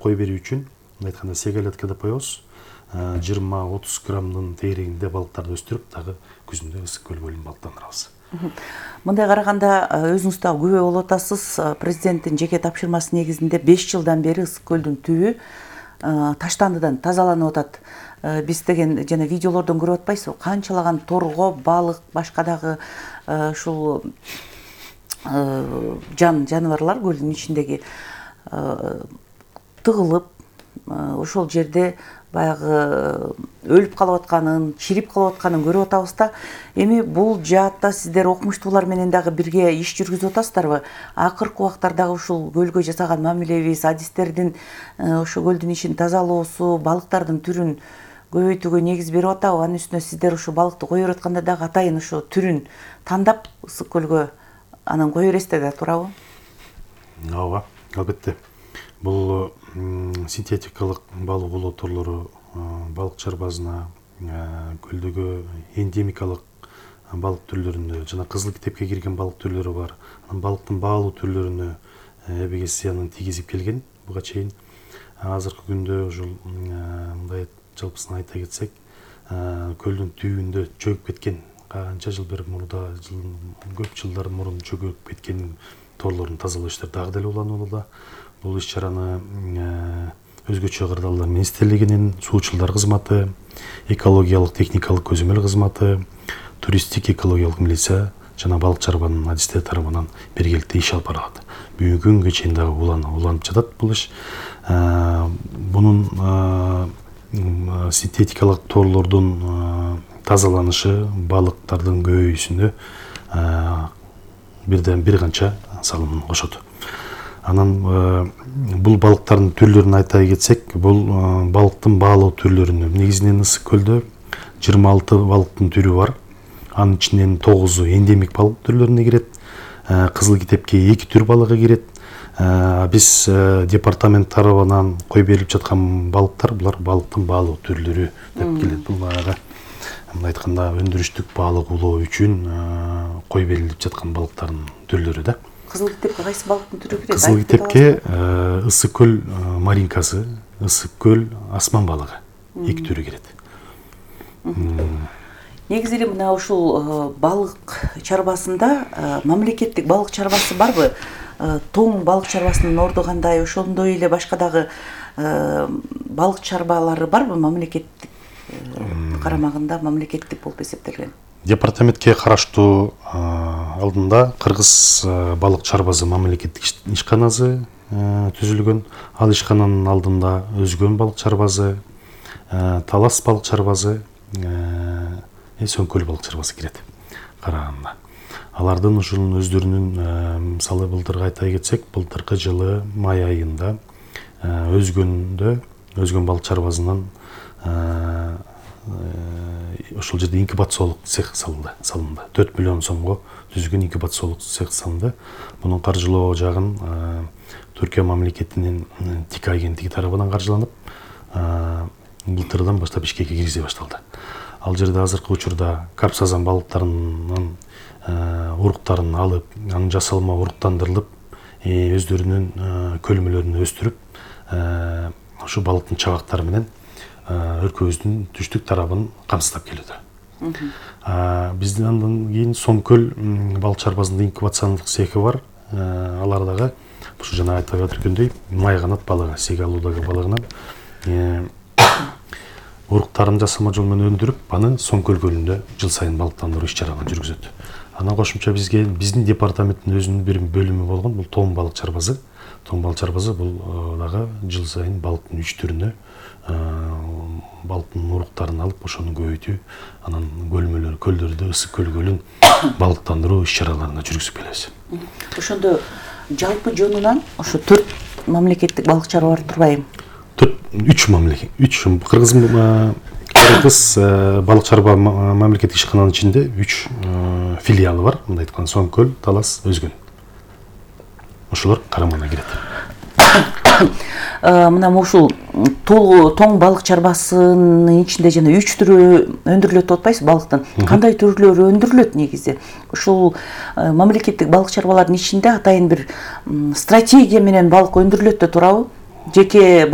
кой берүү үчүн мындай айтканда сегалетка деп коебуз. 20-30 граммдын тегерегинде балыктарды өстүрүп, дагы күзүндө ысык көл көлүн балыктандырабыз. Мындай караганда өзүңүз дагы күбө болуп атасыз. Президенттин жеке тапшырмасы негизинде 5 жылдан бери ысык көлдүн түбү таштандыдан тазаланып атат. Биз деген жана видеолордон көрүп атпайсызбы? Канчалаган торго, балык, башка дагы ушул жаныбарлар көлдүн ичиндеги тыгылып, ошол жерде баягы өлүп калып атканын, чирип калып атканын көрүп атабыз да. Эми бул жаатта сиздер окумуштуулар менен дагы бирге иш жүргүзүп атасыздарбы? Акыркы убактардагы ушул көлгө жасаган мамилебиз, адистердин ошо көлдүн ичин тазалоосу, балыктардын түрүн көбөйтүүгө негиз берип атабы? Анын үстүнө сиздер ошо балыкты кое берип атканда дагы атайын ошо түрүн тандап ысык көлгө анан кое бересиздер да, туурабы? Ооба, албетте. Бул синтетикалык балык улоо торлору балык чарбазына, көлдөгү эндемикалык балык түрлөрүндө жана кызыл китепке кирген балык түрлөрү бар. Анан балыктын баалуу түрлөрүнө эбегей зыянын тийгизип келген буга чейин. Азыркы күндө ушул мындай жалпысын айта кетсек, көлдүн түбүндө чөгүп кеткен, канча жыл бери мурда, көп жылдар мурун чөгүп кеткен торлордун тазалоо иштери дагы деле уланууда. Бул иш-чараны өзгөчө кырдаалдар министрлигинин, суучулдар кызматы, экологиялык техникалык көзөмөл кызматы, туристтик экологиялык милиция жана балык чарбанын адистери тарабынан биргеликте иш алып барылат. Бүгүнкү күнгө чейин дагы уланып жатат бул иш. Бунун синтетикалык торлордун тазаланышы, балыктардын көбөйүүсүнө бир канча салым кошот. Анан бул балыктардын түрлөрүн айта кетсек, бул балыктын баалуу түрлөрүнө негизинен ысык көлдө 26 балыктын түрү бар. Анын ичинен 9-у эндемик балык түрлөрүнө кирет. Кызыл китепке 2 түр балыгы кирет. Биз департамент тарабынан кой берилип жаткан балыктар, булар балыктын баалуу түрлөрү деп келет. Бул баягы мындай айтканда өндүрүштүк балык улоо үчүн кой берилип жаткан балыктардын түрлөрү да. Кызыл китепке кайсы балыктын түрү кирет? Кызыл китепке ысык көл маринкасы, ысык көл асман балыгы 2 түрү кирет. Негизи эле мына ушул балык чарбасында мамлекеттик балык чарбасы барбы? Тоң балык чарбасынын орду кандай? Ошондой эле башка дагы балык чарбалары барбы мамлекеттик карамагында, мамлекеттик болуп эсептелген? Департаментке караштуу алдында Кыргыз балык чарбасы мамлекеттик ишканасы түзүлгөн. Ал ишкананын алдында Өзгөн балык чарбасы, Талас балык чарбасы, Сөңкөл балык чарбасы кирет караганда. Алардын ушунун өздөрүнүн, мисалы былтырга айта кетсек, былтыркы жылы май айында Өзгөн балык чарбасынан ошол жерде инкубациялык цех салынды. 4 миллион сомго түзүлгөн инкубациялык цех салынды. Мунун каржылоо жагын Түркия мамлекетинин ТИК агенттиги тарабынан каржыланып, былтырдан баштап ишке киргизе башталды. Ал жерде азыркы учурда карп-сазан балыктарынын уруктарын алып, анын жасалма уруктандырылып, өздөрүнүн көлмөлөрүн өстүрүп, ошо балыктын чабактары менен өлкөбүздүн түштүк тарабын камсыздап келүүдө. Биздин андан кийин Сомкөл балык чарбасында инкубациялык цехи бар. Алардагы ушу жана айтып өткөндөй май канат балыгы, сегалуудагы балыгынан уруктарын жасалма жол менен өндүрүп, аны Сомкөл көлүндө жыл сайын балыктандыруу иш-чараларын жүргүзөт. Анан кошумча биздин департаменттин өзүнүн бир бөлүмү болгон, бул тоң балык чарбасы. Тоң балык чарбасы бул дагы жыл сайын балыктын 3 түрүнө балыктын уруктарын алып, ошону көбөйтүү, анан көлдөрдө ысык көл көлүн балыктандыруу иш-чараларына жүргүзүп келебиз. Ошондо жалпы жонунан ошо 4 мамлекеттик балык чарба бар турбайбы? 3 мамлекет. Кыргыз балык чарба мамлекеттик ишкананын ичинде 3 филиалы бар. Мындай айтканда Сомкөл, Талас, Өзгөн. Ошолор карамагына кирет. Мына ушул тоң балык чарбасынын ичинде жана 3 түрү өндүрүлөт деп атпайсызбы балыктын? Кандай түрлөрү өндүрүлөт негизи? Ушул мамлекеттик балык чарбалардын ичинде атайын бир стратегия менен балык өндүрүлөт да туурабы? Жеке